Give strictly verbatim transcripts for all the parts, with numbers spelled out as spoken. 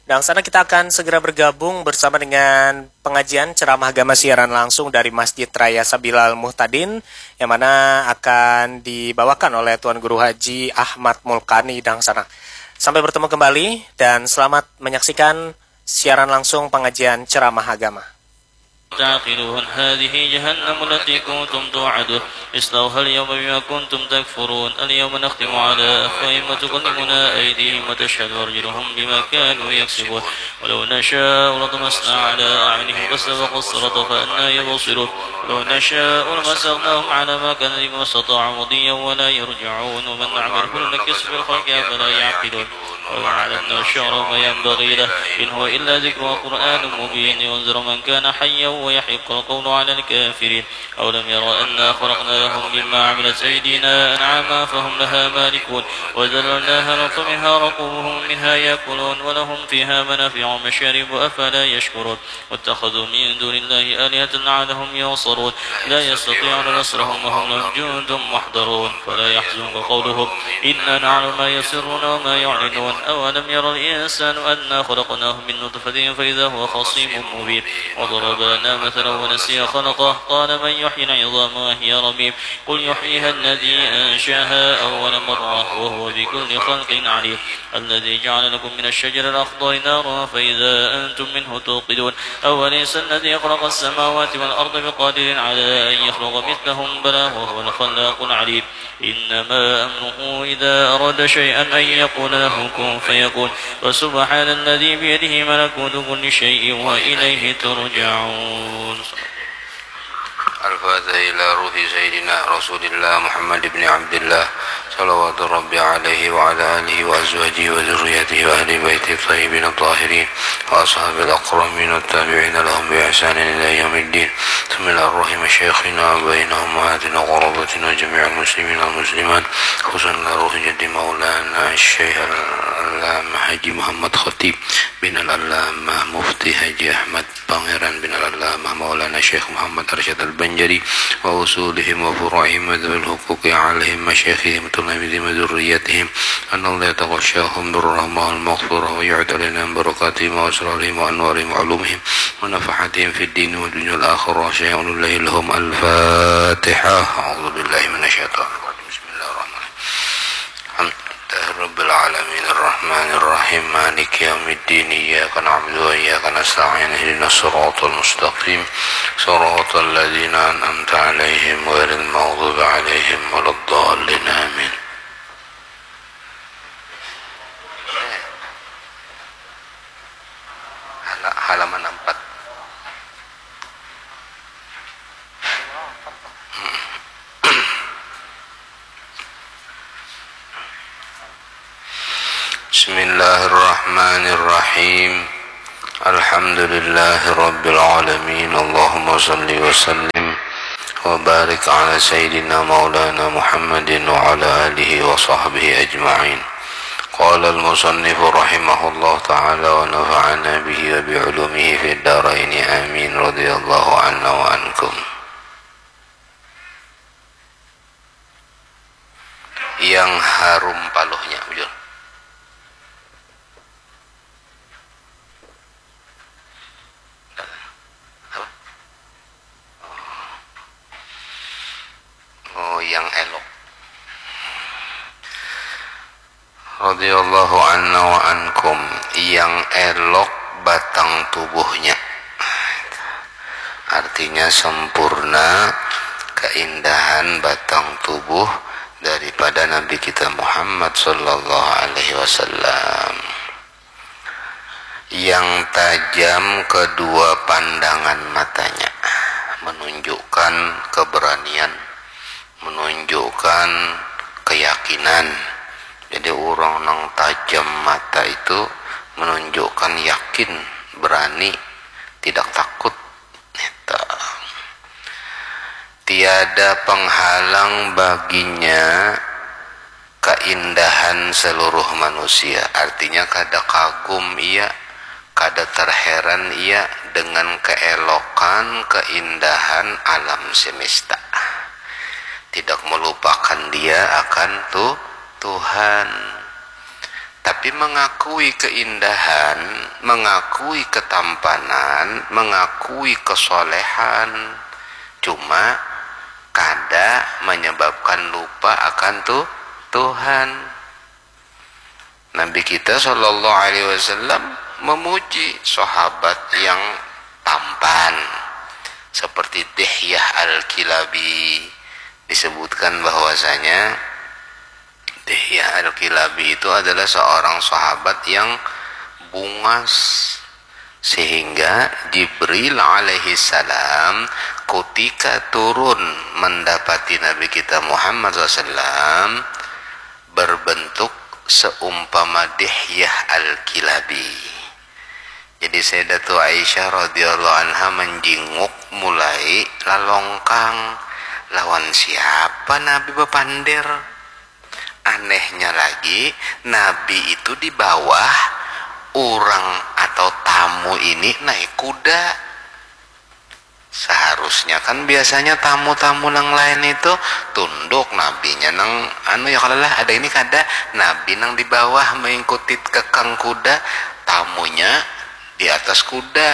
Dan sana kita akan segera bergabung bersama dengan pengajian ceramah agama siaran langsung dari Masjid Raya Sabilal Muhtadin yang mana akan dibawakan oleh Tuan Guru Haji Ahmad Mulkani dan sana. Sampai bertemu kembali dan selamat menyaksikan siaran langsung pengajian ceramah agama. تعقلون هذه جهنم التي كنتم توعدون اصلوها اليوم بما كنتم تكفرون اليوم نختم على أفواههم وتكلمنا أيديهم وتشهد أرجلهم بما كانوا يكسبون ولو نشاء لطمسنا على أعينهم فاستبقوا الصراط فأنى يبصرون ولو نشاء لمسخناهم على مكانتهم فما استطاعوا مضيا ولا يرجعون ومن نعمره ننكسه في الخلق أفلا يعقلون وما علمناه الشعر وما ينبغي له إن هو إلا ذكر وقرآن مبين لينذر من كان حيا ويحق القول على الكافرين أولم يروا أنا خلقنا لهم مما عملت أيدينا أنعاما فهم لها مالكون وذللناها لهم فمنها ركوبهم ومنها يأكلون ولهم فيها منافع ومشارب أفلا يشكرون واتخذوا من دون الله آلهة لعلهم ينصرون لا يستطيعون نصرهم وهم لهم جند محضرون فلا يحزنك قولهم إنا نعلم ما يسرون وما يعلنون أولم ير الإنسان أنا خلقناه من نطفة فإذا هو خصيم مبين وضرب لنا مثلا ونسي خلقه قال من يحيي العظام وهي رميم قل يحييها الذي أنشأها أول مرة وهو بكل خلق عليم الذي جعل لكم من الشجر الأخضر نارا فإذا أنتم منه توقدون أوليس الذي خلق السماوات والأرض بقادر على أن يخلق مثلهم بلى وهو الخلاق العليم إنما أمره إذا أراد شيئا أن يقول له كن فيكون فسبحان الذي بيده ملكوت كل شيء وإليه ترجعون الفاتحة إلى روح سيدنا رسول الله محمد بن عبد الله صلوات ربي عليه وعلى آله وأزواجه وذريته وأهل بيته الطيبين الطاهرين وأصحاب الأكرمين والتابعين لهم بإحسان إلى يوم الدين ثم إلى روح مشايخنا وآبائنا وأمهاتنا وقرابتنا وجميع المسلمين والمسلمات خصوصا إلى روح جد مولانا الشيخ العلامة حاجي محمد خطيب بن العلامة مفتي حاجي أحمد Pangeran bin Al-Allamah Maulana Syekh Muhammad Arsyad Al-Banjari wa usulihim wa furu'ihim wa dzawil huquqi alaihim masyaikhihim wa talamidihim wa dzurriyyatihim. Anallahu yataghashahum birrahmah wal maghfirah wa yu'id alaina min barakatihim wa asrarihim wa anwarihim wa ulumihim wa nafahatihim fid dini wa dunya wal akhirah. Syai'un lillahi lahum. Al-Fatihah. A'udzu billahi minasyaitonir rajim. Bismillahirrahmanirrahim. Alhamdulillahirabbil alamin arrahmanirrahim maliki yaumiddin iyyaka na'budu wa iyyaka nasta'in ihdinas siratal mustaqim siratal ladzina an'amta 'alaihim ghairil maghdubi 'alaihim waladdallin amin. Hala-, halaman empat. Bismillahirrahmanirrahim. Alhamdulillahirabbil alamin. Allahumma shalli wa sallim wa barik ala sayyidina maulana Muhammadin wa ala alihi wa sahbihi ajma'in. Qala al-musannifu rahimahullah ta'ala wa nafa'ana bihi wa bi ulumihi fid daraini amin. Radhiyallahu anna wa ankum. Yang harum paluhnya, bujur. Apa? Oh, yang elok. Radhiyallahu anna wa ankum, yang elok batang tubuhnya. Artinya sempurna keindahan batang tubuh daripada Nabi kita Muhammad sallallahu alaihi wasallam. Yang tajam kedua pandangan matanya, menunjukkan keberanian, menunjukkan keyakinan. Jadi, urang nang tajam mata itu menunjukkan yakin, berani, tidak takut. Neta. Tiada penghalang baginya keindahan seluruh manusia. Artinya, kada kagum ia, kada terheran ia dengan keelokan, keindahan alam semesta. Tidak melupakan dia akan tu-, Tuhan. Tapi mengakui keindahan, mengakui ketampanan, mengakui kesolehan, cuma kada menyebabkan lupa akan tu Tuhan. Nabi kita Shallallahu Alaihi Wasallam memuji sahabat yang tampan seperti Dihyah Al-Kilabi. Disebutkan bahwasanya Dihyah Al-Kilabi itu adalah seorang sahabat yang bungas, sehingga Jibril alaihi salam kutika turun mendapati Nabi kita Muhammad sallallahu alaihi wasallam berbentuk seumpama Dihyah Al-Kilabi. Jadi Sayyidatu Aisyah radhiyallahu anha menjinguk mulai lalongkang, lawan siapa Nabi bapander? Anehnya lagi, Nabi itu di bawah, urang atau tamu ini naik kuda. Seharusnya kan biasanya tamu-tamu nang lain itu tunduk, nabinya nang anu ya, kalau lah ada ini kada, nabi nang di bawah mengikuti kekang kuda, tamunya di atas kuda.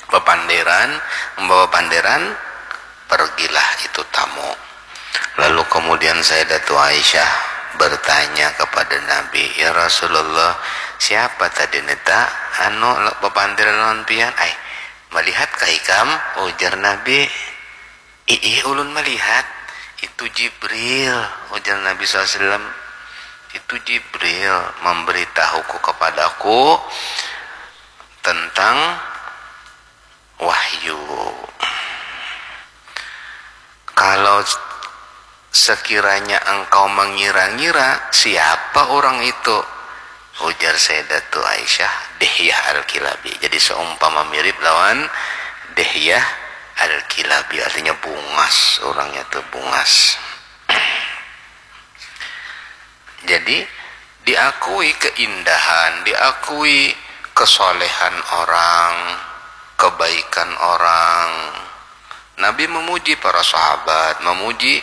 Bapanderan, membawa panderan, pergilah itu tamu. Lalu kemudian Sayyidatu Aisyah bertanya kepada Nabi, "Ya Rasulullah, siapa tadi nita anu bapanderan lawan pian?" "Ai, melihat kah ikam?" ujar Nabi. "Iih, ulun melihat. Itu Jibril," ujar Nabi sallallahu alaihi wasallam. "Itu Jibril memberitahuku kepadaku tentang wahyu. Kalau sekiranya engkau mengira-ngira siapa orang itu," ujar Sayyidatu Aisyah, "Dihyah Al-Kilabi." Jadi seumpama mirip lawan Dihyah Al-Kilabi, artinya bungas, orangnya tuh bungas. Jadi diakui keindahan, diakui kesolehan orang, kebaikan orang. Nabi memuji para sahabat, memuji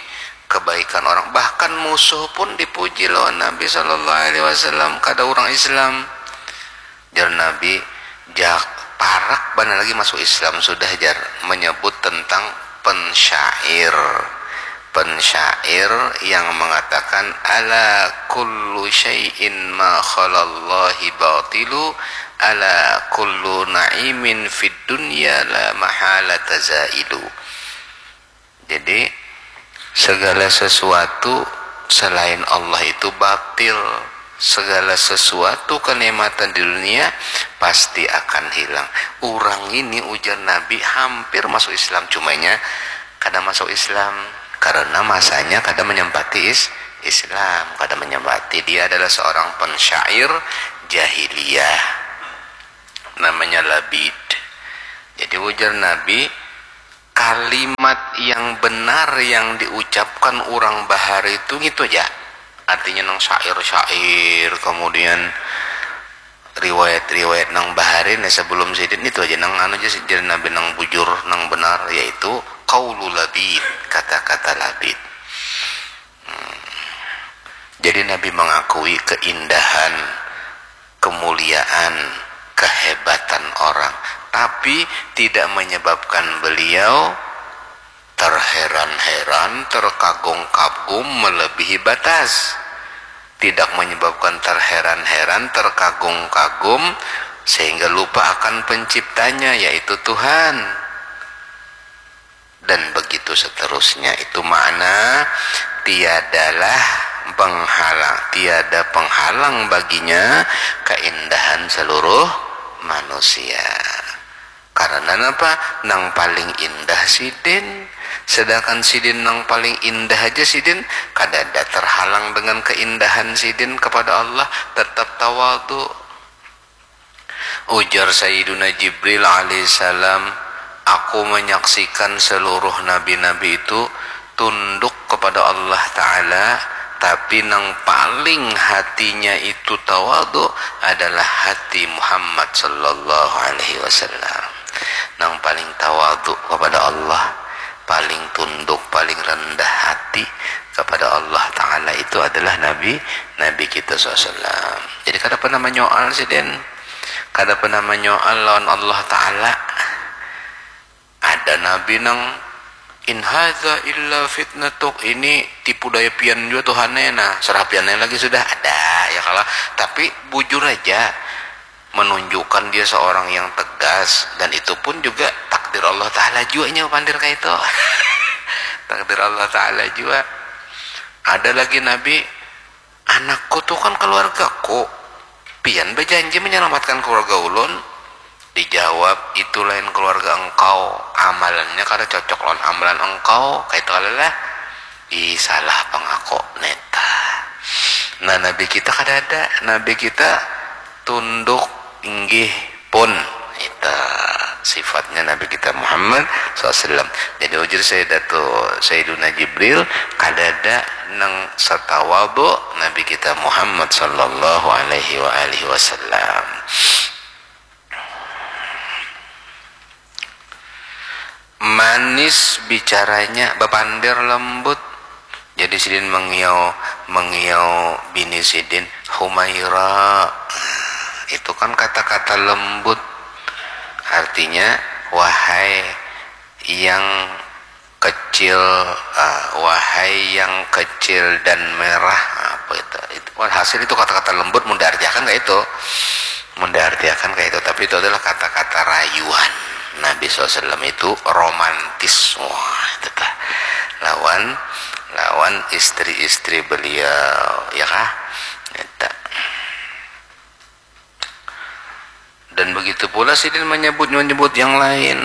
kebaikan orang. Bahkan musuh pun dipuji lawan Nabi sallallahu alaihi wasallam, kada orang Islam. Jar Nabi, "Jak, parak banar lagi masuk Islam sudah," jar, menyebut tentang pensyair. Pensyair yang mengatakan, "Ala kullu syai'in ma khalallahi batilu, ala kullu na'imin fid dunya la mahalata zailu." Jadi segala sesuatu selain Allah itu batil. Segala sesuatu kenikmatan di dunia pasti akan hilang. Orang ini, ujar Nabi, hampir masuk Islam, cumanya kada masuk Islam karena masanya kada menyempati is Islam, kada menyempati. Dia adalah seorang pensyair jahiliyah, namanya Labid. Jadi ujar Nabi, kalimat yang benar yang diucapkan orang bahari itu gitu aja. Artinya nang syair-syair, kemudian riwayat-riwayat nang bahari nih sebelum sidin itu aja, nang anu aja, sidin Nabi nang bujur, nang benar, yaitu qaulu Labid, kata-kata Labid. Hmm. Jadi Nabi mengakui keindahan, kemuliaan, kehebatan orang, tapi tidak menyebabkan beliau terheran-heran, terkagum-kagum melebihi batas. Tidak menyebabkan terheran-heran, terkagum-kagum sehingga lupa akan penciptanya, yaitu Tuhan. Dan begitu seterusnya. Itu makna tiadalah penghalang, tiada penghalang baginya keindahan seluruh manusia. Karena napa? Nang paling indah sidin. Sedangkan sidin nang paling indah aja sidin, kadada terhalang dengan keindahan sidin kepada Allah, tetap tawadu. Ujar Sayyiduna Jibril alaihissalam, "Aku menyaksikan seluruh nabi-nabi itu tunduk kepada Allah Ta'ala, tapi nang paling hatinya itu tawadu adalah hati Muhammad sallallahu alaihi wasallam." Nang paling tawadu kepada Allah, paling tunduk, paling rendah hati kepada Allah Ta'ala itu adalah Nabi, Nabi kita sallallahu alaihi wasallam. Jadi kada pernah menyoal sidin, kada pernah menyoal lawan Allah Ta'ala. Ada Nabi nang, "In hadza illa fitnatuk," ini tipu daya pian jua Tuhannya, nah, serah piannya lagi sudah, ada, ya kalau. Tapi bujur aja, menunjukkan dia seorang yang tegas, dan itu pun juga takdir Allah Ta'ala jua, nya pandir kayak itu. Takdir Allah Ta'ala jua. Ada lagi Nabi, "Anakku tuh kan keluargaku, pian berjanji menyelamatkan keluarga ulun." Dijawab, "Itu lain keluarga engkau, amalannya kada cocok lawan amalan engkau," kayak itu lah. Ih, salah pangako neta. Nah, Nabi kita kada ada. Nabi kita tunduk, inggih pun. Itu sifatnya Nabi kita Muhammad sallallahu alaihi wasallam. Jadi ujar Sayyidatu, Sayyiduna Jibril, kada ada nang satawadu Nabi kita Muhammad sallallahu alaihi wa alihi wasallam. Manis bicaranya, bapandir lembut. Jadi sidin mengiau, mengiau bini sidin, "Humaira." Itu kan kata-kata lembut. Artinya, "Wahai yang kecil, ah, wahai yang kecil dan merah," apa itu? Itu, walhasil itu kata-kata lembut, mun diartiakan kayak itu. Mun diartiakan kayak itu, tapi itu adalah kata-kata rayuan. Nabi sallallahu alaihi wasallam itu romantis. Wah, itu tah. Lawan, lawan istri-istri beliau, ya kah? Itu. Dan begitu pula sidin menyebut, menyebut yang lain.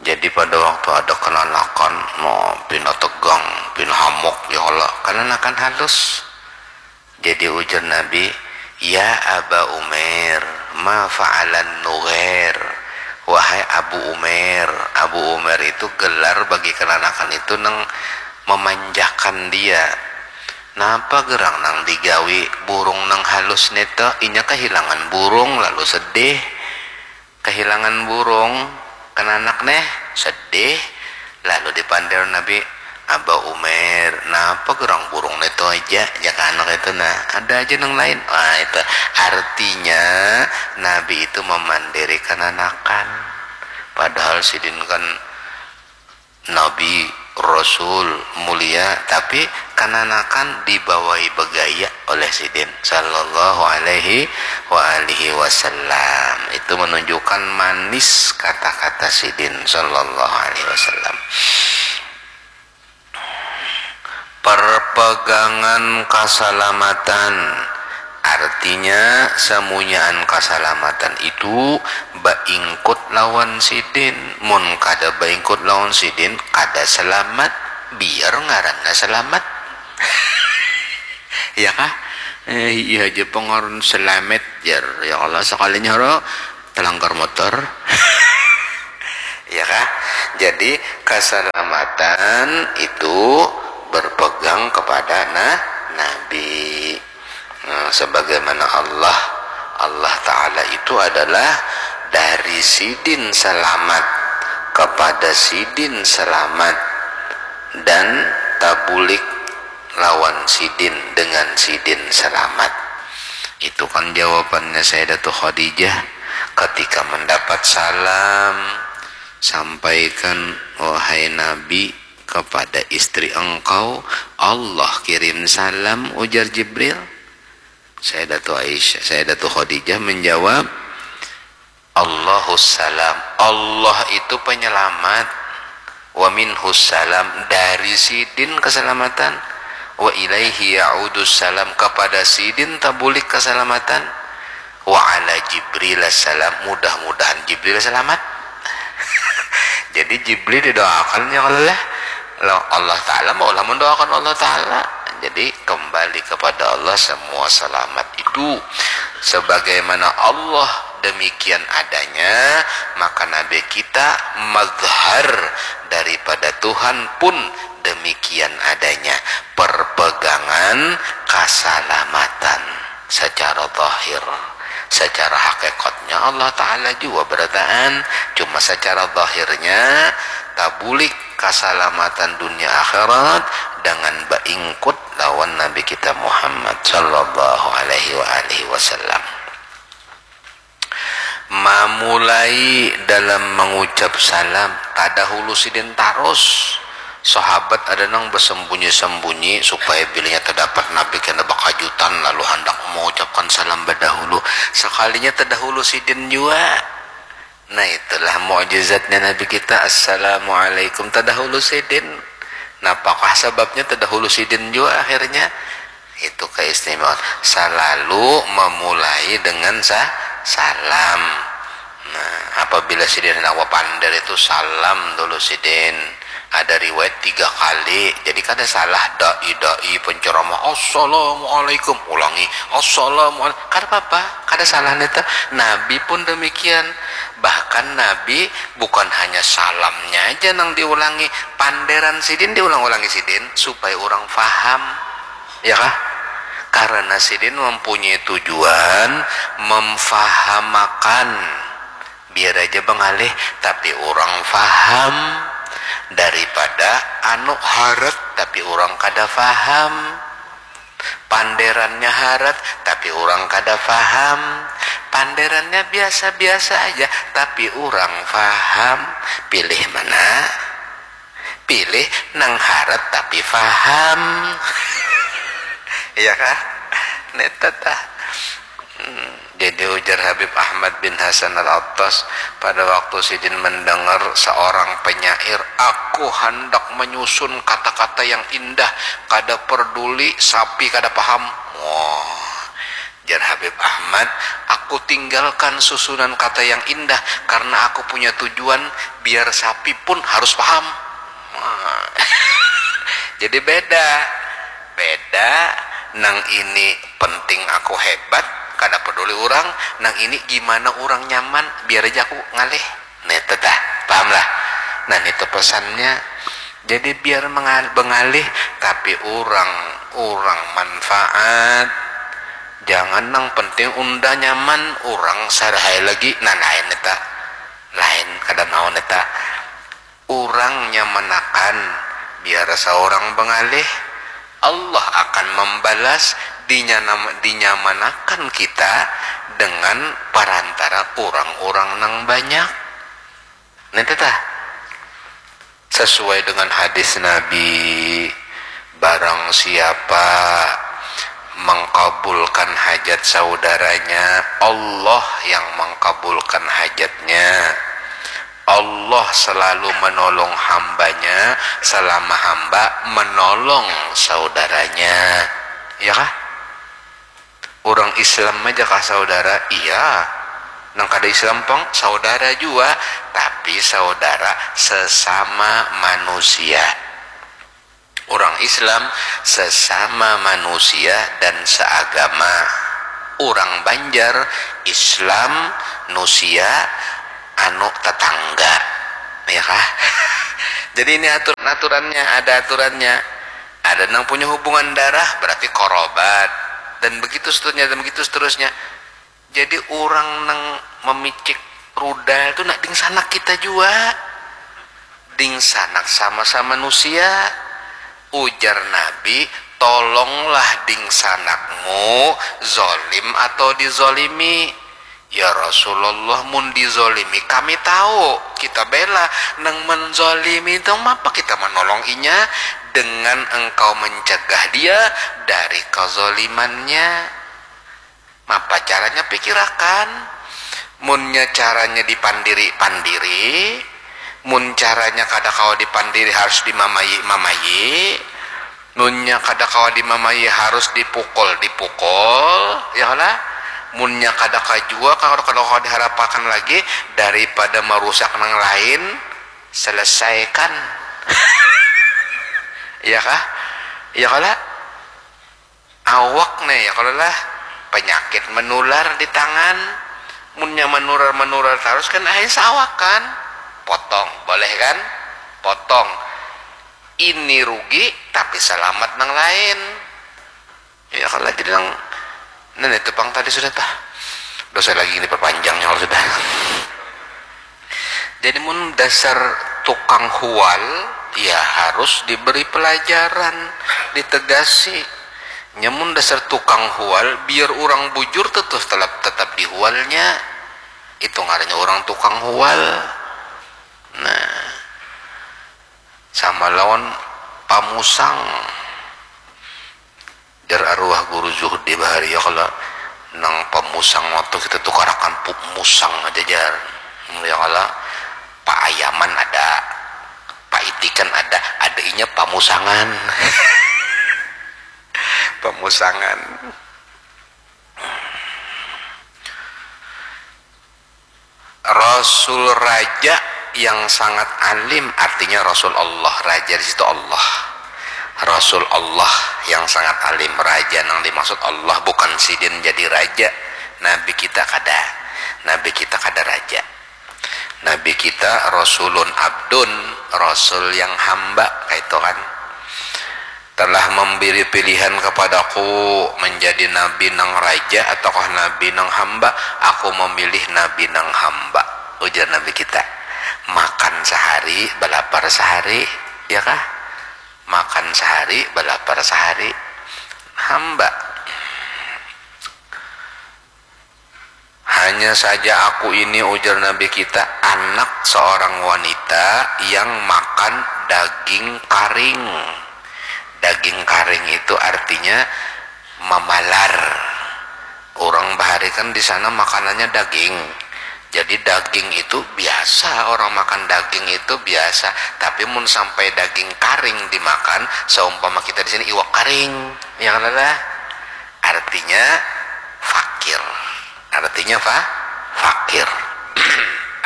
Jadi pada waktu ada kenanakan, no, pina tegang, pina hamok, ya Allah, kenanakan halus. Jadi ujar Nabi, "Ya Aba Umair, ma fa'alan nughair?" Wahai Abu Umair, Abu Umair itu gelar bagi kenanakan itu nang memanjakan dia. Napa gerang nang digawi burung nang halus neta? Inya kehilangan burung lalu sedih. Kehilangan burung, kenanak neh sedih. Lalu dipandir Nabi, "Aba Umair, napa gerang burung neta aja?" Jaka anak itu, nah, ada aja nang lain. Wah, itu artinya Nabi itu memandiri kenanakan. Padahal sidin kan Nabi, Rasul, mulia, tapi kananakan dibawai begaya oleh sidin sallallahu alaihi wa alihi wasallam. Itu menunjukkan manis kata-kata sidin sallallahu alaihi wasallam. Perpegangan kasalamatan, artinya samunyaan kasalamatan itu baingkut lawan sidin. Mun kada baingkut lawan sidin, kada selamat, biar ngarannya selamat. Ya kah? Eh, iya aja pengaran selamat, jar. Ya Allah, sekalinya ro telangkar motor. Ya kah? Jadi keselamatan itu berpegang kepada na Nabi. Nah, sebagaimana Allah, Allah Ta'ala itu adalah dari sidin selamat, kepada sidin selamat, dan tabulik lawan sidin, dengan sidin selamat. Itu kan jawabannya Sayyidatu Khadijah ketika mendapat salam, "Sampaikan, wahai Nabi, kepada istri engkau, Allah kirim salam," ujar Jibril. Sayyidatu Aisyah, Sayyidatu Khadijah menjawab, "Allahus salam, Allah itu penyelamat, wa minhus salam, dari sidin keselamatan, wa ilaihi ya'udus salam, kepada sidin tabulik keselamatan, wa ala Jibril salam, mudah-mudahan Jibril selamat." Jadi Jibril didoakan, ya kalau lah, Allah Ta'ala maulah mendoakan Allah Ta'ala. Jadi kembali kepada Allah semua selamat itu. Sebagaimana Allah demikian adanya, maka Nabi kita mazhar daripada Tuhan pun demikian adanya. Perpegangan kasalamatan secara zahir. Secara hakikatnya Allah Ta'ala juga berataan, cuma secara zahirnya tabulik kasalamatan dunia akhirat dengan baingkut lawan Nabi kita Muhammad sallallahu alaihi wa alihi wasallam. Mamulai dalam mangucap salam, tadahulu sidin tarus. Sahabat ada nang basambunyi-sambunyi supaya bilanya tadapat Nabi kena bakajutan lalu handak mangucapkan salam badahulu. Sakalinya tadahulu sidin jua. Nah, itulah mukjizatnya Nabi kita, Assalamualaikum, tadahulu sidin. Napakah sababnya tadahulu sidin jua akhirnya? Itu keistimewaan. Salalu mamulai dengan sa salam. Nah, apabila sidin handak bapander itu salam dulu sidin. Ada riwayat tiga kali. Jadi kada salah dai-dai penceramah Assalamualaikum, ulangi Assalamualaikum. Kada apa-apa, kada salah nita. Nabi pun demikian. Bahkan Nabi bukan hanya salamnya aja nang diulangi, panderan sidin diulang-ulangi sidin supaya orang faham. Ya kah? Karena sidin mempunyai tujuan memfahamakan. Biar aja bangalih tapi orang faham daripada anu harat tapi orang kada faham. Panderannya harat tapi orang kada faham. Panderannya biasa-biasa aja tapi orang faham. Pilih mana? Pilih nang harat tapi faham. Iya kah? Neta tah. Hmm, jadi ujar Habib Ahmad bin Hasan Al-Attas pada waktu sidin mendengar seorang penyair, "Aku hendak menyusun kata-kata yang indah, kada peduli sapi kada paham." Wah, jar Habib Ahmad, "Aku tinggalkan susunan kata yang indah karena aku punya tujuan biar sapi pun harus paham." Wah. Jadi beda. Beda, nang ini penting aku hebat, kada peduli orang, nang ini gimana orang nyaman, biar aja aku ngalih. Nah, itu dah, paham lah. Nah, itu pesannya. Jadi biar mengal- bengalih, tapi orang, orang manfaat. Jangan nang penting unda nyaman, orang sarahai lagi, nah lain eta. Lain, kada mau neta. Urang nyamanakan, biar saurang bangalih, Allah akan mambalas dinyana- dinyamanakan kita dengan parantara urang-urang nang banyak. Nete tah? Sesuai dengan hadis Nabi, barang siapa mengkabulkan hajat saudaranya, Allah yang mengkabulkan hajatnya. Allah selalu menolong hambanya selama hamba menolong saudaranya. Iya kah? Urang Islam aja kah saudara? Iya. Nang kada Islam pang saudara jua, tapi saudara sesama manusia. Urang Islam sesama manusia dan seagama. Urang Banjar, Islam, nusia, anu, tetangga. Ya kah? Jadi ini aturan-aturannya, ada aturannya. Ada nang punya hubungan darah berarti korobat. Dan begitu seterusnya, dan begitu seterusnya. Jadi urang nang memicik rudal tu nak dingsanak kita jua. Dingsanak sama-sama manusia. Ujar Nabi, tolonglah dingsanakmu, zolim atau dizolimi. Ya Rasulullah, mun dizolimi kami tahu, kita bela. Nang menzolimi itu mapa kita menolong inya dengan engkau mencegah dia dari kezolimannya? Mapa caranya pikirakan? Munnya caranya dipandiri, pandiri. Mun caranya kada kawa dipandiri harus dimamayi, mamayi. Munnya kada kawa dimamayi harus dipukul, dipukul, ya kala? Munnya kada kajua, kada, kada kawa diharapakan lagi daripada marusak nang lain, selesaikan. Iya kah? Iya kala? Awak nih ya kalau lah penyakit menular di tangan, munnya menular menular terus kan akhirnya sawak kan, potong boleh kan, potong, ini rugi tapi selamat nang lain. Ya kalau jadi nang, nah itu pang tadi sudah tah, dosa lagi ini perpanjangnya kalau sudah. Jadi mun dasar tukang hual, Ya harus diberi pelajaran, ditegasi. Nyamun dasar tukang hual, biar urang bujur tuh tetap tetap dihualnya. Itu ngarannya urang tukang hual. Nah, sama lawan pamusang. Jar arwah guru Zuhdi bahari, ya kala, nang pamusang waktu kita tukarakan pup musang aja, jar. Ya kala, paayaman ada, paitikan ada, ada inya pamusangan. Pamusangan. Rasul raja yang sangat alim, artinya Rasul Allah, raja di situ Allah. Rasul Allah yang sangat alim, raja nang dimaksud Allah bukan sidin jadi raja. Nabi kita kada, Nabi kita kada raja. Nabi kita rasulun abdun, rasul yang hamba, kaitu kan. Telah memberi pilihan kepadaku menjadi nabi nang raja ataukah nabi nang hamba, aku memilih nabi nang hamba, ujar Nabi kita. Makan sehari, belapar sehari, ya kah? Makan sehari, belapar sehari. Hamba. Hanya saja aku ini, ujar Nabi kita, anak seorang wanita yang makan daging karing. Daging karing itu artinya mamalar. Orang bahari kan di sana makanannya daging. Jadi daging itu biasa, orang makan daging itu biasa. Tapi mun sampai daging karing dimakan, seumpama kita di sini iwak karing, ya kan ada? Artinya fakir. Artinya fa fakir.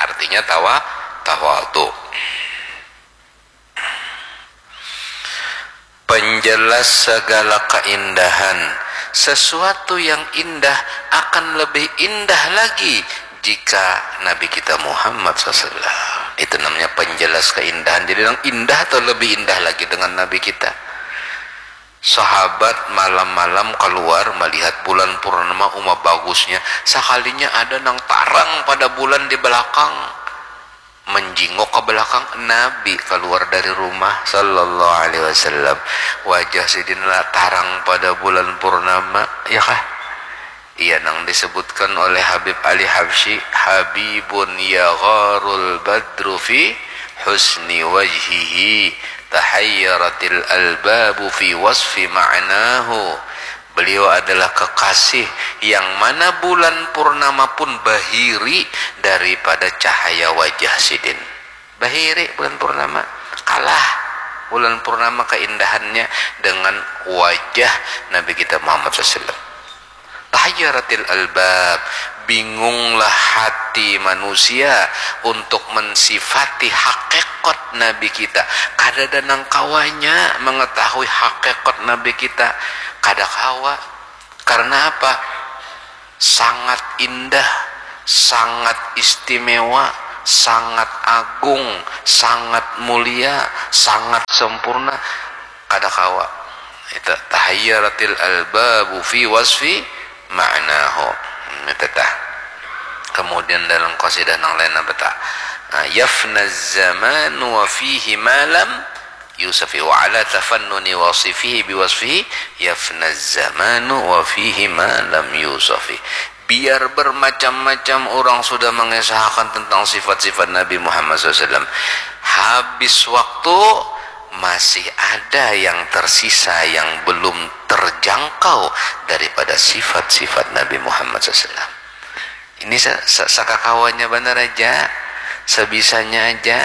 Artinya tawa tawadu. Penjelas segala keindahan. Sesuatu yang indah akan lebih indah lagi jika Nabi kita Muhammad sallallahu alaihi wasallam. Itu namanya penjelas keindahan. Jadi yang indah atau lebih indah lagi dengan Nabi kita. Sahabat malam-malam keluar melihat bulan purnama, uma bagusnya. Sakalinya ada nang tarang pada bulan di belakang. Menjingok ke belakang, Nabi keluar dari rumah sallallahu alaihi wasallam. Wajah sidin lah tarang pada bulan purnama, ya kah? Iya, nang disebutkan oleh Habib Ali Habsyi, "Habibun yagharul badru fi husni wajhihi, tahayyaratil albabu fi wasfi ma'nahu." Beliau adalah kekasih yang mana bulan purnama pun bahiri daripada cahaya wajah sidin. Bahiri bulan purnama, kalah bulan purnama keindahannya dengan wajah Nabi kita Muhammad sallallahu alaihi wasallam. Tahayyaratil albab, bingunglah hati manusia untuk mensifati hakikat Nabi kita. Kadada nang kawanya mengetahui hakikat Nabi kita. Kada kawa. Karena apa? Sangat indah, sangat istimewa, sangat agung, sangat mulia, sangat sempurna. Kada kawa. Itu tahayyaratil albabu fi wasfi ma'nahu. Hmm, itu tah. Kemudian dalam qasidah nang lain apa tah? Ah, yafna zamanu wa fihi ma lam yusafi, wa ala tafannuni wasifihi biwasfihi yafna zamanu wa fihi ma lam yusafi. Biar bermacam-macam orang sudah mengisahkan tentang sifat-sifat Nabi Muhammad sallallahu alaihi wasallam, habis waktu masih ada yang tersisa yang belum terjangkau daripada sifat-sifat Nabi Muhammad sallallahu alaihi wasallam. Ini sa- sa- sakakawanya banar aja, sebisanya aja.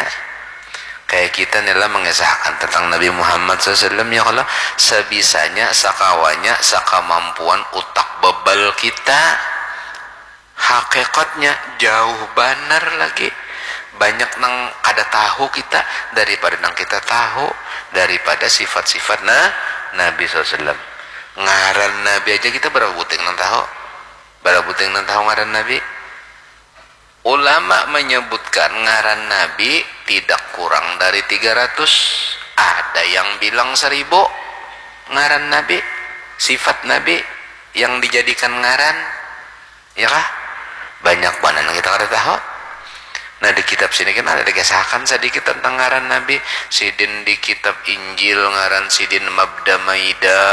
Kayak kita ni lah mengisahkan tentang Nabi Muhammad sallallahu alaihi wasallam, ya kalo, sebisanya, sakawanya, sakamampuan utak bebal kita. Hakikatnya jauh banar lagi. Banyak nang kada tahu kita daripada nang kita tahu daripada sifat-sifat na- Nabi sallallahu alaihi wasallam. Ngaran Nabi aja kita berapa buting nang tahu? Berapa buting nang tahu ngaran Nabi? Ulama menyebutkan ngaran Nabi tidak kurang dari tiga ratus. Ada yang bilang seribu ngaran Nabi, sifat Nabi yang dijadikan ngaran. Ya kah? Banyak banar nang kita kada tahu. Nah, di kitab sini kan ada dikisahkan sedikit tentang ngaran Nabi. Sidin di kitab Injil ngaran sidin Mabda Maida.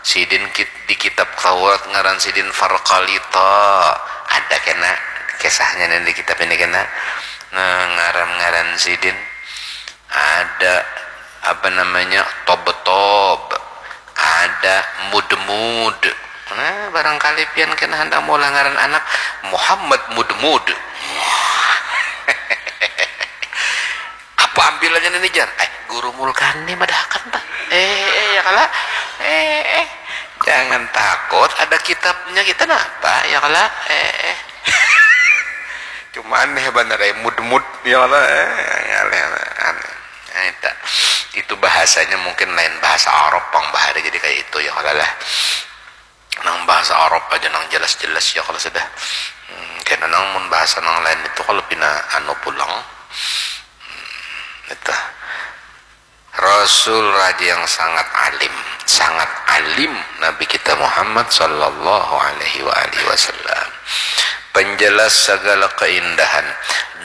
Sidin di kitab Taurat ngaran sidin Farkalita. Ada kena kisahnya nih di kitab ini kena. Nah, ngaran-ngaran sidin ada apa namanya, tob-tob, ada mud-mud. Nah, barangkali pian kena hendak maulah ngaran anak Muhammad Mud-mud. Apa ambilannya ini, jar? Eh, guru Mulkani madahakan, Pak. Eh, eh, ya kala. Eh, eh. Jangan takut, ada kitabnya kita napa, ya kala. Eh, eh. Cuma aneh bener, eh, mud-mud, ya kala. Eh, aneh, aneh. Nah, itu, itu bahasanya mungkin lain bahasa Arab pang bahari jadi kayak itu, ya kala lah. Nang bahasa Arab aja nang jelas-jelas, ya kala sudah. Hmm, kena nang mun bahasa nang lain itu kalau pina anu pulang. Hmm, itu. Rasul raja yang sangat alim, sangat alim Nabi kita Muhammad sallallahu alaihi wa alihi wasallam. Penjelas segala keindahan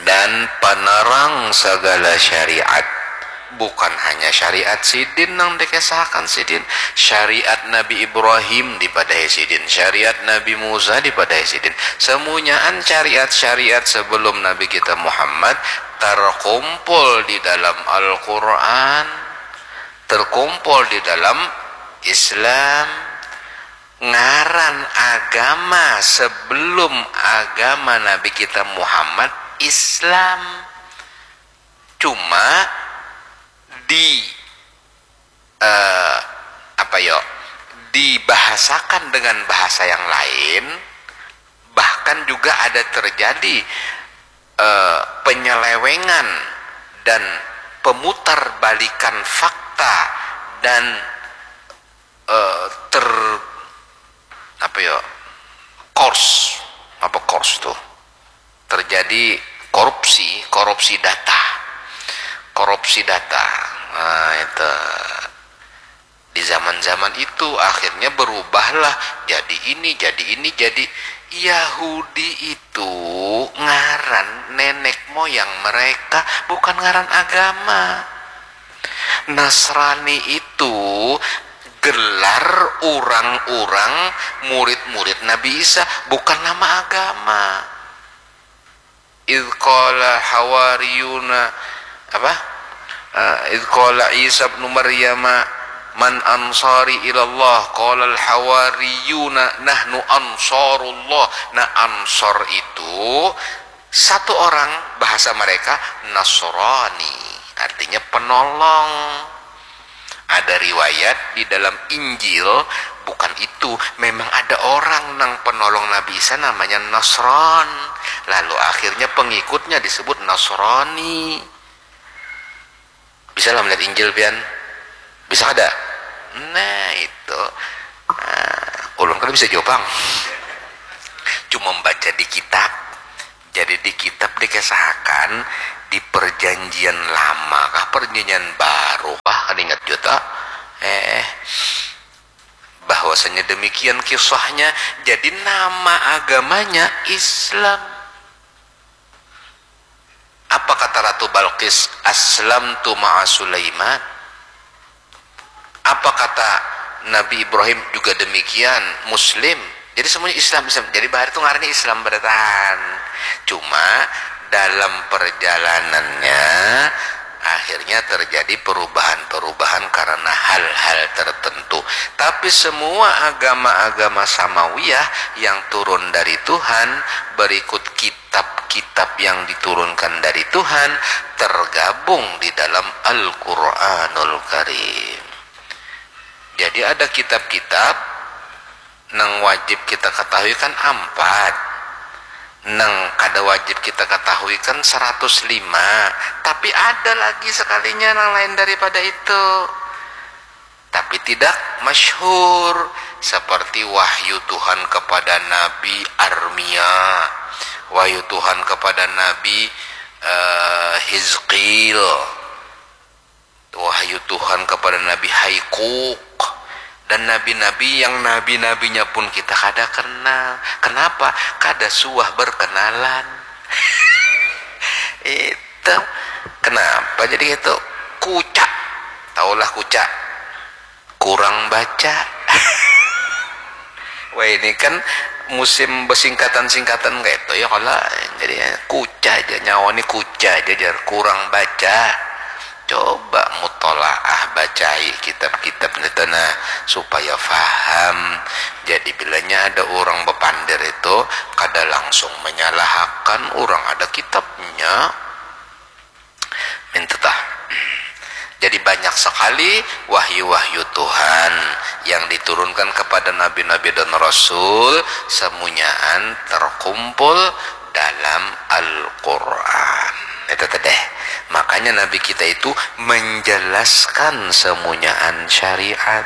dan penerang segala syariat. Bukan hanya syariat sidin nang dikisahkan sidin, syariat Nabi Ibrahim dipadahi sidin, syariat Nabi Musa dipadahi sidin. Semunyaan syariat-syariat sebelum Nabi kita Muhammad terkumpul di dalam Al-Quran, terkumpul di dalam Islam. Ngaran agama sebelum agama Nabi kita Muhammad Islam. Cuma di eh, apa yo, dibahasakan dengan bahasa yang lain, bahkan juga ada terjadi eh, penyelewengan dan pemutarbalikan fakta dan eh, ter apa yo, kors, apa kors tuh, terjadi korupsi, korupsi data, korupsi data. Nah, itu di zaman-zaman itu akhirnya berubahlah jadi ini, jadi ini, jadi Yahudi itu ngaran nenek moyang mereka, bukan ngaran agama. Nasrani itu gelar orang-orang murid-murid Nabi Isa, bukan nama agama. Idh qala hawariyuna apa? Uh, idh qala Isa ibnu Maryama man ansari ilallah, qala al hawariyuna nahnu ansarullah. Nah, ansor itu satu orang, bahasa mereka Nasrani, artinya penolong. Ada riwayat di dalam Injil, bukan itu, memang ada orang nang penolong Nabi Isa namanya Nasron. Lalu akhirnya pengikutnya disebut Nasrani. Bisa lah melihat Injil pian? Bisa kada? Nah, itu. Nah, ulun kada bisa jawab pang. Cuma membaca di kitab. Jadi di kitab dikesahakan di perjanjian lama kah, perjanjian baru kah, kada ingat jua. Eh, bahwasanya demikian kisahnya. Jadi nama agamanya Islam. Apa kata Ratu Balqis? Aslamtu ma'a Sulaiman. Apa kata Nabi Ibrahim? Juga demikian, Muslim. Jadi semuanya Islam, Islam. Jadi bahari itu ngarannya Islam bertahan. Cuma dalam perjalanannya akhirnya terjadi perubahan-perubahan karena hal-hal tertentu. Tapi semua agama-agama samawiyah yang turun dari Tuhan berikut kitab-kitab yang diturunkan dari Tuhan tergabung di dalam Al-Quranul Karim. Jadi ada kitab-kitab nang wajib kita ketahui kan ampat, nang kada wajib kita ketahui kan seratus lima, tapi ada lagi sekalinya nang lain daripada itu, tapi tidak masyhur, seperti wahyu Tuhan kepada Nabi Armia, wahyu Tuhan kepada Nabi uh, Hizqil, wahyu Tuhan kepada Nabi Haikuk, dan nabi-nabi yang nabi-nabinya pun kita kada kenal. Kenapa? Kada suah berkenalan. Itu kenapa jadi itu? Kuca. Taulah kuca. Kurang baca. Wah, ini kan musim bersingkatan-singkatan kayak itu ya, kalau jadi ya, kuca aja, nyawa ini kuca aja, jar, kurang baca. Coba mutolaah, bacai kitab-kitab itu, nah, supaya faham. Jadi bilanya ada orang bepander itu, kada langsung menyalahkan orang, ada kitabnya. Minta tah. Jadi banyak sekali wahyu-wahyu Tuhan yang diturunkan kepada nabi-nabi dan rasul, semunyaan terkumpul dalam Al-Quran. Itu teh. Makanya nabi kita itu menjelaskan semunyaan syariat.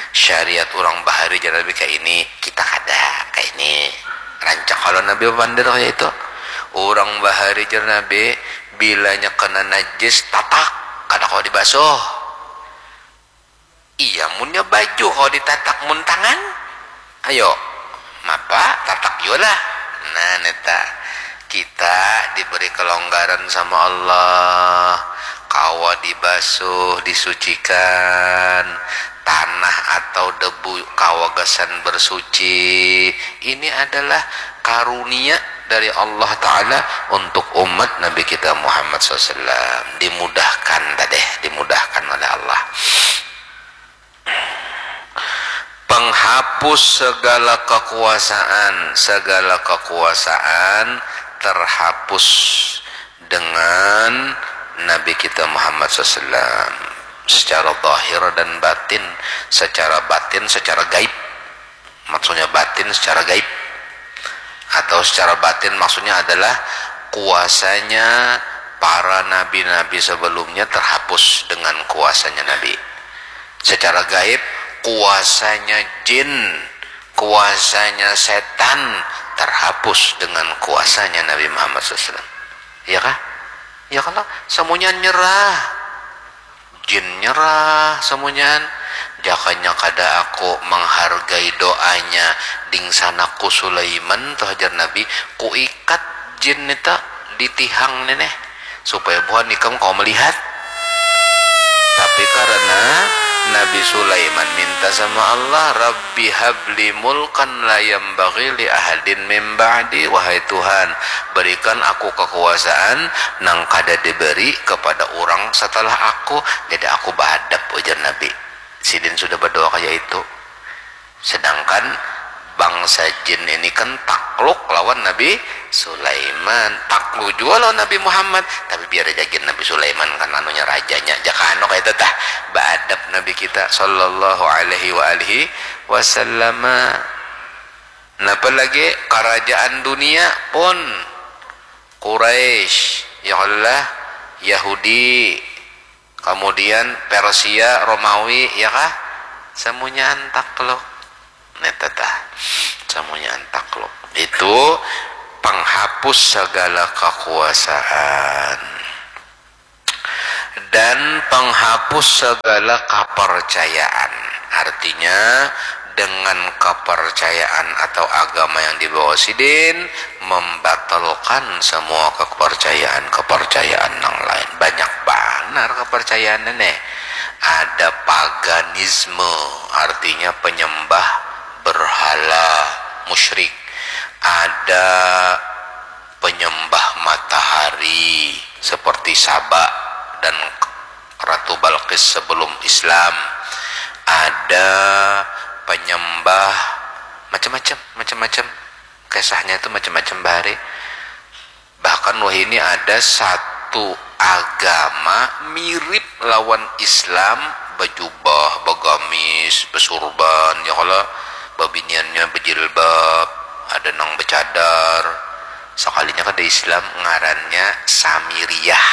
Syariat orang bahari, jar nabi, kayak ini, kita kada kayak ini. Rancak kalau nabi bepander kayak itu. Orang bahari, jar nabi, bilanya kena najis, tatak, kada kawa dibasuh. Iya, munnya baju kawa ditatak, mun tangan, ayo, mapa, tatak jua lah. Nah, neta, kita diberi kelonggaran sama Allah, kawa dibasuh, disucikan, tanah atau debu kawa gasan bersuci. Ini adalah karunia dari Allah Ta'ala untuk umat Nabi kita Muhammad sallallahu alaihi wasallam. Dimudahkan tadi, dimudahkan oleh Allah. Penghapus segala kekuasaan, segala kekuasaan terhapus dengan Nabi kita Muhammad sallallahu alaihi wasallam secara zahir dan batin, secara batin, secara gaib. Maksudnya batin secara gaib. Atau secara batin maksudnya adalah kuasanya para nabi-nabi sebelumnya terhapus dengan kuasanya Nabi. Secara gaib, kuasanya jin, kuasanya setan terhapus dengan kuasanya Nabi Muhammad sallallahu alaihi wasallam. Iya kah? Iya kah lah? Semuanya nyerah. Jin nyerah, semunyaan. Jakanya kada aku menghargai doanya dingsanakku Sulaiman, tuh, hajar Nabi, kuikat jin nita di tihang neneh, supaya buhan ikam kawa melihat. Tapi karena Nabi Sulaiman minta sama Allah, Rabbi habli mulkan la yambaghi li ahadin min ba'di, wahai Tuhan, berikan aku kekuasaan nang kada diberi kepada orang setelah aku. Jadi aku beadab, ujar Nabi. Sidin sudah berdoa kayak itu. Sedangkan bangsa jin ini kan takluk lawan Nabi Sulaiman, takluk juga lawan Nabi Muhammad, tapi biar aja gin Nabi Sulaiman kan anunya rajanya, jaka anu kayak itu tah, beadab Nabi kita sallallahu alaihi wa alihi wasallam. Napa lagi kerajaan dunia pun, Quraisy, ya Allah, Yahudi, kemudian Persia, Romawi, ya kah? Semunyaan takluk. Neta tah. Semunyaan takluk. Itu penghapus segala kekuasaan dan penghapus segala kepercayaan. Artinya, dengan kepercayaan atau agama yang dibawa sidin membatalkan semua kepercayaan-kepercayaan yang lain. Banyak banar kepercayaan ini. Ada paganisme, artinya penyembah berhala, musyrik. Ada penyembah matahari seperti Saba dan Ratu Balqis sebelum Islam. Ada penyembah macam-macam, macam-macam. Kisahnya itu macam-macam bahari. Bahkan wahini ada satu agama mirip lawan Islam, bajubah, bagamis, basurban, ya kalo, babiniannya bajilbab, ada nang bacadar. Sakalinya kada Islam, ngarannya Samiriyah.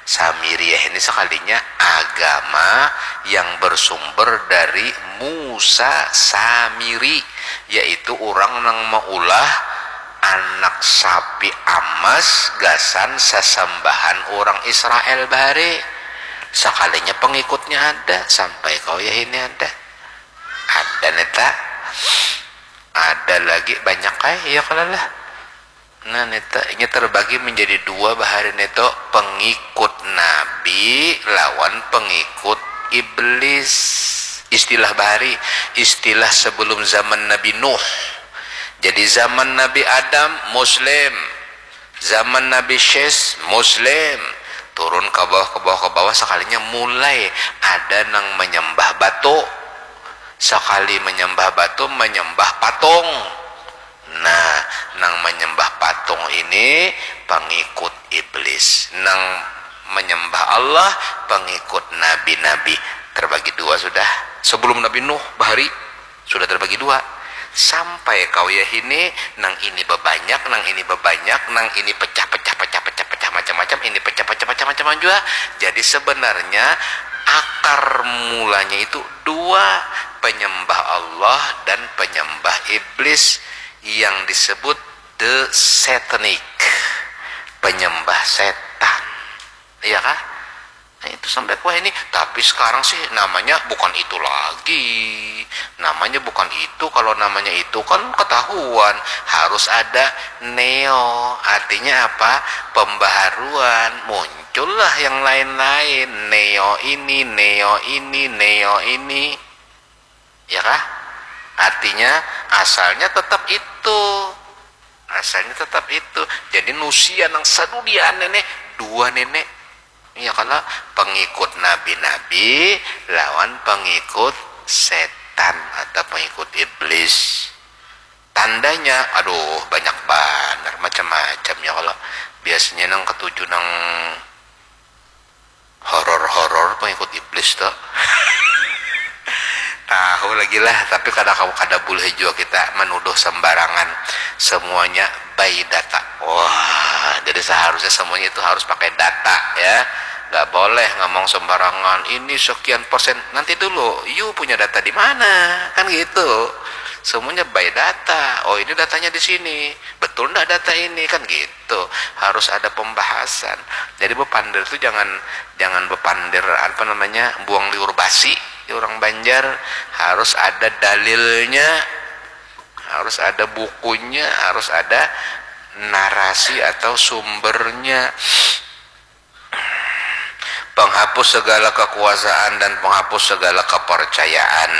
Samiriyah ini sakalinya agama yang bersumber dari Musa Samiri, yaitu orang nang maulah anak sapi amas gasan sasambahan orang Israel bahari. Sakalinya pengikutnya ada, sampai kau ya ini ada. Ada neta. Ada lagi banyak ai, ya kalo lah. Nah, neta, inya terbagi menjadi dua bahari neto, pengikut Nabi lawan pengikut iblis. Istilah bahari, istilah sebelum zaman Nabi Nuh. Jadi zaman Nabi Adam Muslim, zaman Nabi Syis Muslim, turun ke bawah, ke bawah, ke bawah, sekalinya mulai ada nang menyembah batu. Sekali menyembah batu, menyembah patung. Nah, nang menyembah patung ini pengikut iblis. Nang menyembah Allah pengikut nabi-nabi. Terbagi dua sudah. Sebelum Nabi Nuh bahari sudah terbagi dua. Sampai kawiyah ini, nang ini bebanyak, nang ini bebanyak, nang ini pecah-pecah, pecah-pecah, pecah macam-macam, ini pecah-pecah, pecah macam-macam juga. Jadi sebenarnya akar mulanya itu dua, penyembah Allah dan penyembah iblis yang disebut the satanic, penyembah setan. Iya kah? Nah, itu sampai kuah ini. Tapi sekarang sih namanya bukan itu lagi. Namanya bukan itu. Kalau namanya itu kan ketahuan. Harus ada neo. Artinya apa? Pembaharuan. Muncullah yang lain-lain. Neo ini, neo ini, neo ini. Ya kah? Artinya asalnya tetap itu. Asalnya tetap itu. Jadi nusia nang sadudiaan nenek, dua nenek. Ya kalau pengikut nabi-nabi lawan pengikut setan atau pengikut iblis. Tandanya, aduh, banyak banar, macam-macam ya kalau. Biasanya nang ketujuh nang horor-horor pengikut iblis tuh. Tahu lagi lah, tapi kada, kada boleh juga kita menuduh sembarangan. Semuanya by data. Wah, jadi seharusnya semuanya itu harus pakai data ya. Nggak boleh ngomong sembarangan. Ini sekian persen. Nanti dulu, you punya data di mana? Kan gitu. Semuanya by data. Oh, ini datanya di sini. Betul ndak data ini? Kan gitu. Harus ada pembahasan. Jadi bepandir tuh jangan, jangan bepandir apa namanya, buang liur basi. Di orang Banjar harus ada dalilnya, harus ada bukunya, harus ada narasi atau sumbernya. Penghapus segala kekuasaan dan penghapus segala kepercayaan.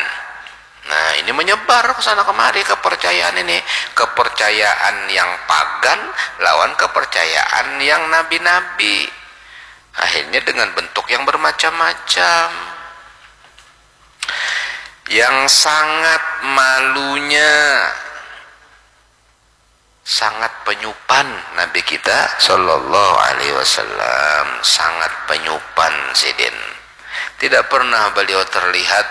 Nah, ini menyebar ke sana kemari kepercayaan ini. Kepercayaan yang pagan lawan kepercayaan yang nabi-nabi. Akhirnya dengan bentuk yang bermacam-macam. Yang sangat malunya, sangat penyupan Nabi kita Shallallahu Alaihi Wasallam, sangat penyupan sidin. Tidak pernah beliau terlihat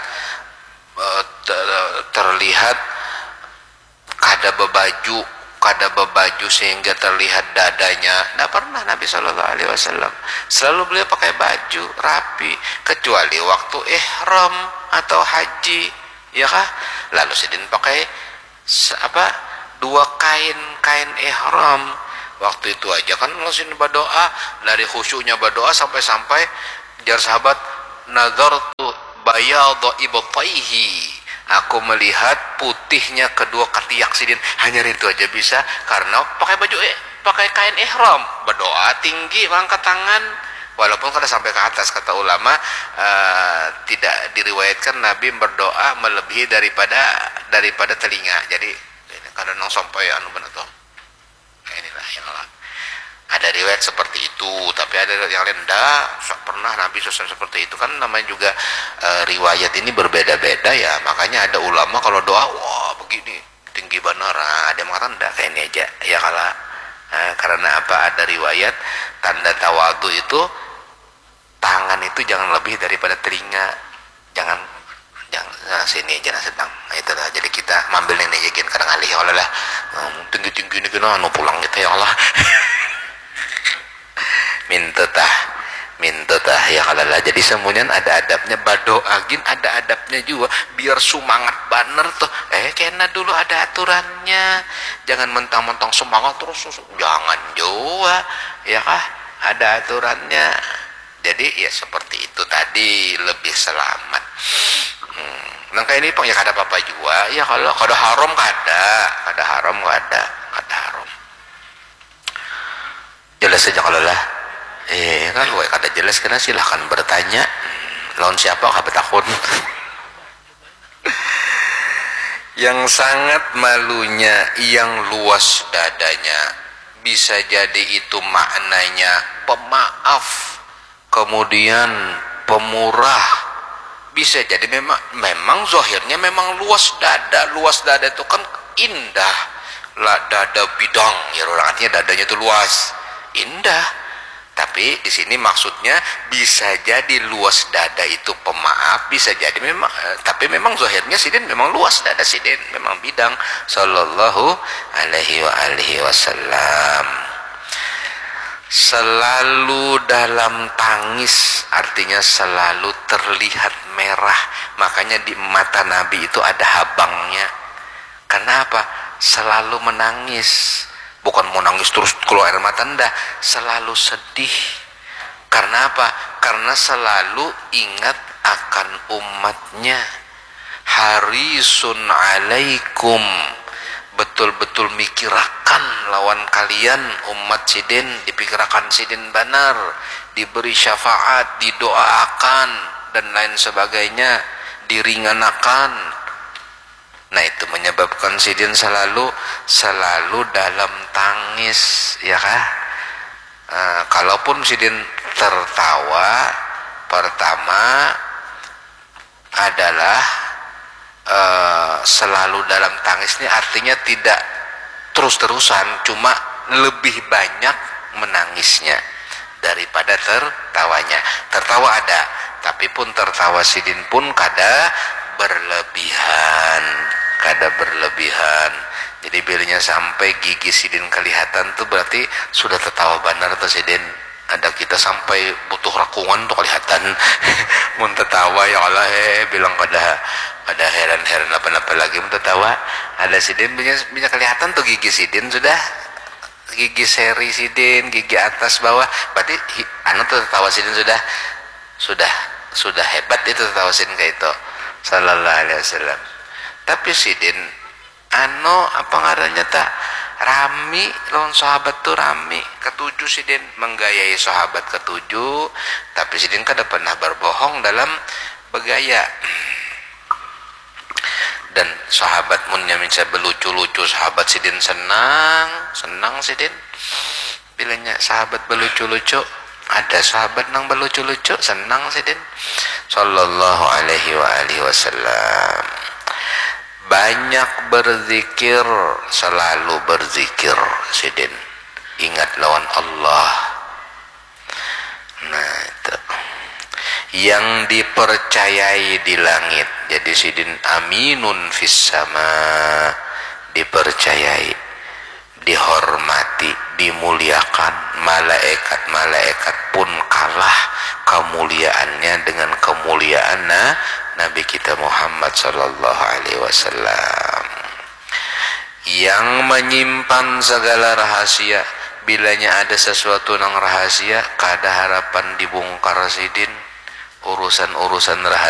eh, ter- terlihat kada bebaju, kada bebaju sehingga terlihat dadanya. Tidak pernah Nabi Shallallahu Alaihi Wasallam. Selalu beliau pakai baju rapi, kecuali waktu ihram atau haji, ya kah? Lalu sidin pakai se- apa, dua kain, kain ihram. Waktu itu aja kan langsung berdoa, dari khusyuknya berdoa sampai-sampai jar sahabat, "Nazartu bayadha ibtaihi." Aku melihat putihnya kedua ketiak sidin. Hanya itu aja bisa karena pakai baju eh, pakai kain ihram, berdoa tinggi, mengangkat tangan. Walaupun kada sampai ke atas, kata ulama, eh, tidak diriwayatkan Nabi berdoa melebihi daripada daripada telinga. Jadi kada nang sampai anu benar tuh. Nah, inilah yang lah. Ada riwayat seperti itu, tapi ada yang lain ndak. Pernah Nabi sosok seperti itu kan, namanya juga eh, riwayat ini berbeda-beda ya. Makanya ada ulama kalau doa, wah, begini, tinggi banar. Ah, ada yang mengatakan ndak, kayak ini aja. Ya kalau eh, karena apa, ada riwayat tanda tawadu itu tangan itu jangan lebih daripada telinga. Jangan, jangan nah, sini aja nah sedang. Nah, itulah, jadi kita mambil ini aja gin, kadang alih ya Allah lah. Hmm, tinggi-tinggi ini kena anu pulang kita ya Allah. Minta tah, minta tah ya kalau lah. Jadi semuanya ada adabnya, berdoa gin ada adabnya juga. Biar semangat banar tuh. Eh, kena dulu ada aturannya. Jangan mentang-mentang semangat terus, terus. Jangan juga, ya kah? Ada aturannya. Jadi ya seperti itu tadi, lebih selamat. Hmm. Nang kayak ini pang ya kada apa-apa juga. Ya kalau kada haram kada, kada haram kada, kada haram. Jelas aja kalau lah. Eh kan, wah, kada jelas kena, silahkan bertanya. Lawan siapa kah betakun? Yang sangat malunya, yang luas dadanya. Bisa jadi itu maknanya pemaaf, kemudian pemurah. Bisa jadi memang, memang zahirnya memang luas dada. Luas dada itu kan indah lah, dada bidang ya orang, artinya dadanya itu luas, indah. Tapi di sini maksudnya bisa jadi luas dada itu pemaaf, bisa jadi memang, eh, tapi memang zahirnya sidin memang luas dada sidin, memang bidang. Sallallahu alaihi wa alihi wasallam. Selalu dalam tangis, artinya selalu terlihat merah. Makanya di mata Nabi itu ada habangnya. Kenapa? Selalu menangis. Bukan mau nangis terus keluar air mata, ndak. Selalu sedih. Karena apa? Karena selalu ingat akan umatnya. Harisun alaikum, betul-betul mikirakan lawan kalian, umat sidin, dipikirakan sidin banar, diberi syafaat, didoaakan, dan lain sebagainya, diringanakan. Nah, itu menyebabkan sidin selalu, selalu dalam tangis, ya kah? Eh, kalaupun sidin tertawa, pertama adalah, eh, selalu dalam tangis ini artinya tidak terus-terusan, cuma lebih banyak menangisnya daripada tertawanya. Tertawa ada, tapi pun tertawa sidin pun kada berlebihan, kada berlebihan. Jadi bilanya sampai gigi sidin kelihatan tuh berarti sudah tertawa banar tuh sidin. Ada kita sampai butuh rakungan tuh kelihatan. Mun tertawa, ya Allah, eh, bilang kada, kada heran-heran apa-apa lagi mun tertawa. Ada sidin punya, punya kelihatan tuh gigi sidin sudah, gigi seri sidin, gigi atas bawah. Berarti hi-, anu tuh tertawa sidin sudah, sudah, sudah hebat itu tertawa sidin kayak itu. Sallallahu alaihi wasallam. Tapi sidin anu, apa ngarannya ta, rami lawan sahabat tu, rami. Katuju sidin menggayai sahabat katuju, tapi sidin kada pernah berbohong dalam begaya. Dan sahabat munnya minsa belucu-lucu, sahabat sidin senang, senang sidin. Bilanya sahabat belucu-lucu, ada sahabat nang belucu-lucu, senang sidin. Sallallahu alaihi wa alihi wasallam. Banyak berzikir, selalu berzikir sidin. Ingat lawan Allah. Nah, itu. Yang dipercayai di langit. Jadi sidin aminun fis sama, dipercayai, dihormati, dimuliakan. Malaikat-malaikat pun kalah kemuliaannya dengan kemuliaan na-, Nabi kita Muhammad sallallahu alaihi wasallam. Yang menyimpan segala rahasia, bilanya ada sesuatu nang rahasia, kada harapan dibungkar sidin. Urusan-urusan rahasia